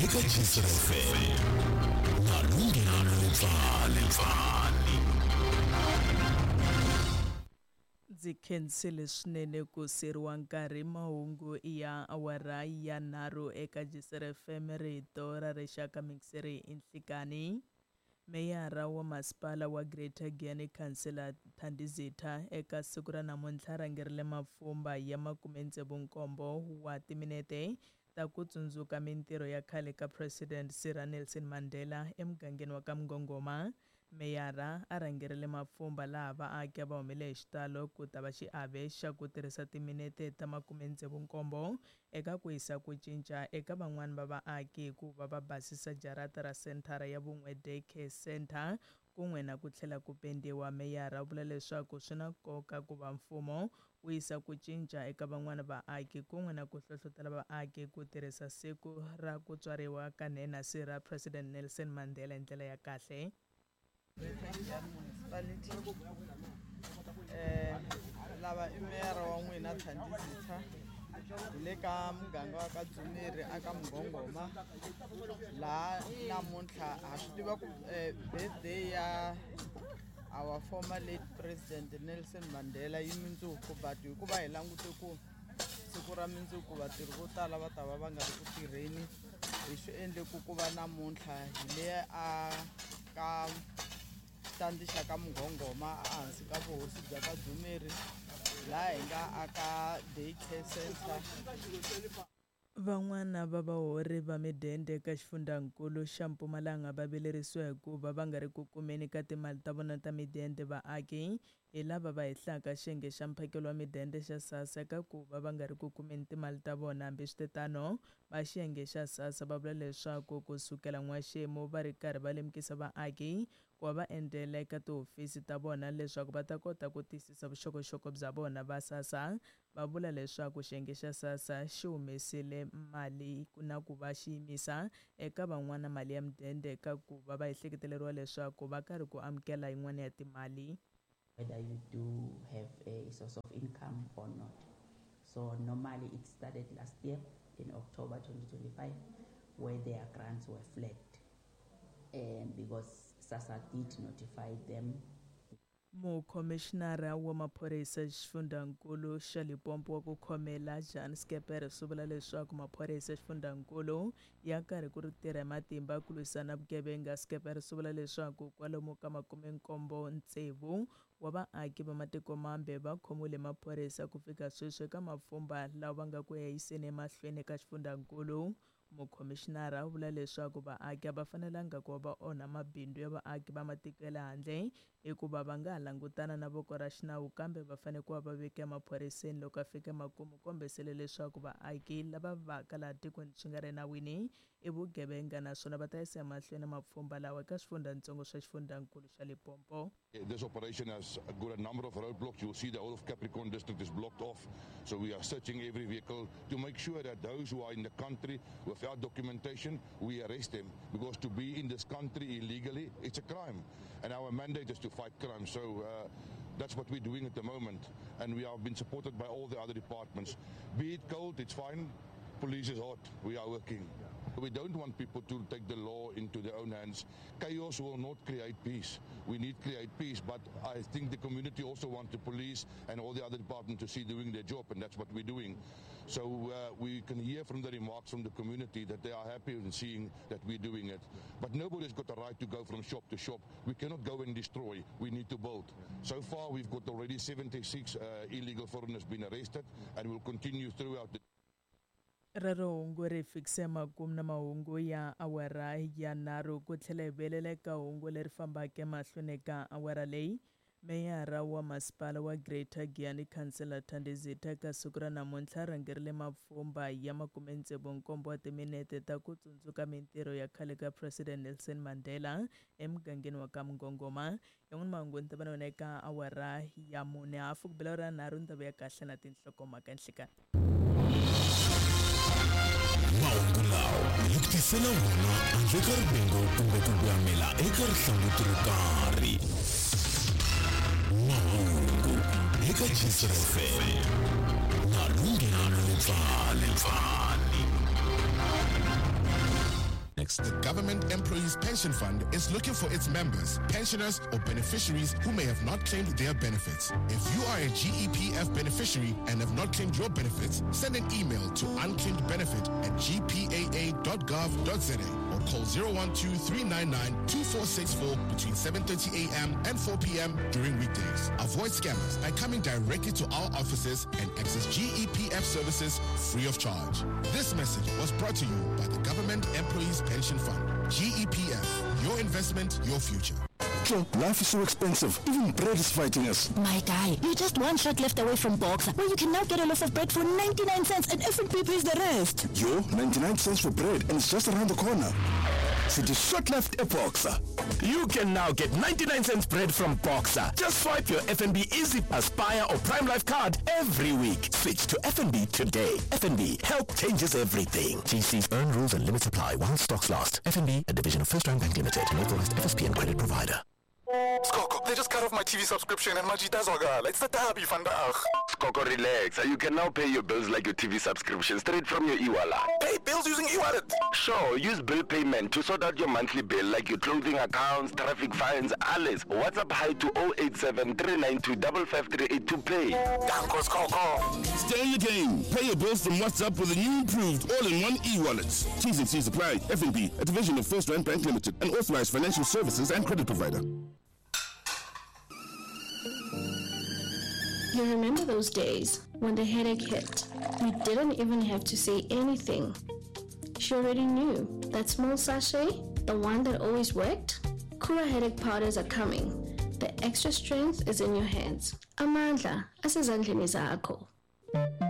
eka Jisr FM na Lunghelo Letsale. Ndzi khensile swinene ku siriwa nkarhi mahungu ya awara ya nharhu eka Jisr FM rito ra rixaka mixeri i nhlikani. Meyara wa masipala wa Greater Giyani Councillor Thandi Zitha eka siku ra namuntlha rhangerile mapfhumba ya 67 wa timinete ta ku tsundzuka mintirho ya khale ka President Sir Nelson Mandela emugangeni wa ka Mngongoma. Meyara a rhangerile mapfhumba laha vaaki a va humile hi xitalo ku ta va xiave xa ku tirhisa timinete ta 67 eka ku yisa ku cinca eka van'wani va vaaki hikuva va basisa jarata ra senthara ya Vun'we Day Care Centre kun'we na ku tlhela ku pendiwa. Meyara u vula leswaku swi na nkoka ku va mfumo wu yisa ku cinca eka van'wani vaaki kun'we na ku hlohlotela vaaki ku tirhisa siku ra ku tswariwa ka nhenha Sir President Nelson Mandela hi ndlela ya kahle. Municipality lava i meyara wa n'wina Thandi Zitha hi le ka muganga wa ka Dzumeri aka Mngongoma laha namuntlha ha swi tiva ku birthday ya our former late president Nelson Mandela yi mundzuku but hikuva hi langute ku siku ra mundzuku vatirhi vo tala va ta va va nga ri ku tirheni hi swi endle ku ku va namuntlha hi le a ka xitandi xa ka Mngongoma ehansi ka vuhosi bya ka Dzumeri laha hi nga aka day care center. Van'wana va vahori va midende eka xifundzankulu xa Mpumalanga va vilerisiwa hikuva va nga ri ku kumeni ka timali ta vona ta midende. Vaaki hi lava va hehlaka xiyenge xa mphakelo wa midende xa SASSA eka ku va va nga ri ku kumeni timali ta vona. Hambiswiritano, va xiyenge xa SASSA va vula leswaku ku sukela n'waxemu va ri karhi va lemukisa vaaki ku va va endzela eka tihofisi ta vona leswaku va ta kota ku tiyisisa vuxokoxoko bya vona. Va SASSA va vula leswaku xiyenge xa SASSA xi humesile mali na ku va xi yimisa eka van'wana mali ya midende eka ku va va ehleketeleriwa leswaku va karhi ku amukela yin'wana ya timali. Whether you do have a source of income or not. So normally it started last year in October 2025 where their grants were flagged because SASSA did notify them. Mukhomixinara wa maphorisa xifundzankulu xa Limpopo wa ku khomela Jan Skeper swi vula leswaku maphorisa xifundzankulu ya karhi ku ri tirha hi matimba ku lwisana vugevenga. Skeper swi vula leswaku kwalomu ka 76 wa vaaki va matiko mambe va khomiwile maphorisa ku fika sweswi eka mapfhumba lawa va nga ku ya yiseni emahlweni eka xifundzankulu. Mukhomixinara u vula leswaku vaaki a va fanelanga ku va va onha mabindzu ya vaaki va matiko ya le handle hikuva va nga ha langutana na voko ra xinawu kambe va fanele ku va va veka emaphoriseni loko a fika emakumu kombisele leswaku vaaki lava vaka laha tikweni swi nga ri enawini i vugevenga naswona va ta yisa emahlweni mapfhumba lawa eka swifundzatsongo swa xifundzankulu xa Limpopo. This operation has got a number of roadblocks. You'll see the whole of Capricorn district is blocked off. So we are searching every vehicle to make sure that those who are in the country without documentation, we arrest them. Because to be in this country illegally, it's a crime. And our mandate is to fight crime. So that's what we're doing at the moment. And we have been supported by all the other departments. Be it cold, it's fine. Police is hot. We are working. We don't want people to take the law into their own hands. Chaos will not create peace. We need to create peace, but I think the community also wants the police and all the other departments to see doing their job, and that's what we're doing. So we can hear from the remarks from the community that they are happy in seeing that we're doing it. But nobody's got the right to go from shop to shop. We cannot go and destroy. We need to build. So far, we've got already 76 illegal foreigners been arrested, and we'll continue throughout the Rero hungu ri fikise makumu na mahungu ya awara ya nharhu ku tlhela hi vuyelela eka hungu leri fambaka emahlweni ka awara leyi. Meyara wa masipala wa Greater Giyani Councillor Thandi Zitha eka siku ra namuntlha rhangerile mapfhumba ya 67 wa timinete ta ku tsundzuka mintirho ya khale ka President Nelson Mandela emugangeni wa ka Mngongoma. Yan'wana mahungu ni ta va na wena eka awara ya 4 hafu ku bela ra nharhu ni ta vuya kahle na tinhlokomhaka nhlikani. Mahungu lawa hi ku tisela wona handle ka rivengo kumbe ku voyamela eka rihlanguti ro karhi. Mahungu eka Jisr FM na Lunghelo Letsale. Next. The Government Employees Pension Fund is looking for its members, pensioners, or beneficiaries who may have not claimed their benefits. If you are a GEPF beneficiary and have not claimed your benefits, send an email to unclaimedbenefit@gpaa.gov.za or call 012-399-2464 between 7:30 a.m. and 4 p.m. during weekdays. Avoid scammers by coming directly to our offices and access GEPF services free of charge. This message was brought to you by the Government Employees Pension Fund. GEPF, your investment, your future. Life is so expensive. Even bread is fighting us. My guy, you're just one shot left away from Boxer, where you can now get a loaf of bread for 99 cents and FNB pays the rest. Yo, 99 cents for bread, and it's just around the corner. City shot left a Boxer. You can now get 99 cents bread from Boxer. Just swipe your FNB Easy Aspire or Prime Life card every week. Switch to FNB today. FNB, help changes everything. GC's earn rules and limits apply while stocks last. FNB, a division of First Round Bank Limited, an authorized FSP and credit provider. Skoko, they just cut off my TV subscription and Majita Zogala. It's the derby vandaag. Skoko, relax. You can now pay your bills like your TV subscription straight from your e-wallet. Pay bills using e-wallet? Sure, use bill payment to sort out your monthly bill like your clothing accounts, traffic fines, alles. WhatsApp hi to 087 392 5538 to pay. Danko, Skoko. Stay in the game. Pay your bills from WhatsApp with a new improved all-in-one e-wallet. T's and C's apply. FNB, a division of First Rand Bank Limited, an authorized financial services and credit provider. You remember those days when the headache hit? You didn't even have to say anything. She already knew. That small sachet, the one that always worked? Kura headache powders are coming. The extra strength is in your hands. Amandla, asezandleni zakho.